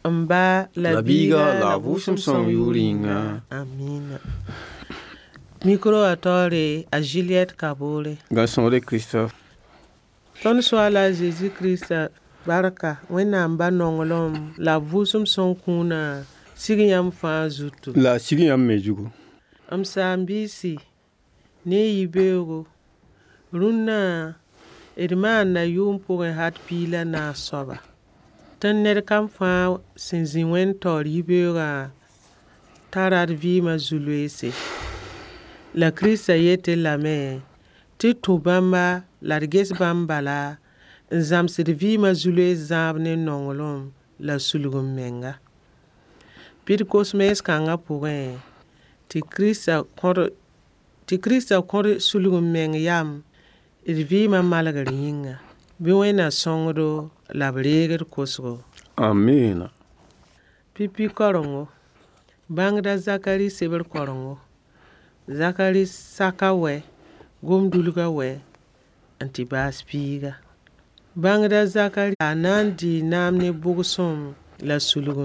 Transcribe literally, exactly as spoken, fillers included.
M ba la La biiga biiga la la vʋʋsem vʋʋsem sõng sõng yʋʋr yʋʋr yĩnga. yĩnga. Amina. Micro wã taoore a Juliette Kabore. Gãn-sõgre Christophe. Tõnd Soaala a Zeezi Kirista barka, Wẽnnaam ba nonglem la b vʋʋsem sõng kũunã sig yãmb fãa zutu. La sig yãmb me zugu. M saam-biisi ne y yibeoogo, rũnnã d maanda yʋʋm pʋgẽ hat piig la naas soaba. Tɩ ned kam fãa sẽn zĩ wẽn-taoor yibeoogã tara d vɩɩma zu-loeese. La Kirista yet-d lame tɩ d tũ bãmba la d ges bãmb bala n zãms d vɩɩma zu-loees zãab ne nonglem la sulg-m-menga. Bɩ d kos mees-kãngã pʋgẽ tɩ Kirista kõ-d tɩ Kirista kõ-d sulg-m-meng yam d vɩɩma malgr yĩnga. Bɩ Wẽnna sõng-do la b reeg d kosgo. Amina. Pipi karengo, bãngda Zakari sebr karengo. Zakari saka wɛ, gomdulga wɛ n tɩ baas piiga. Bãngda Zakari a na n dɩɩ naam ne bʋgsem la sulg.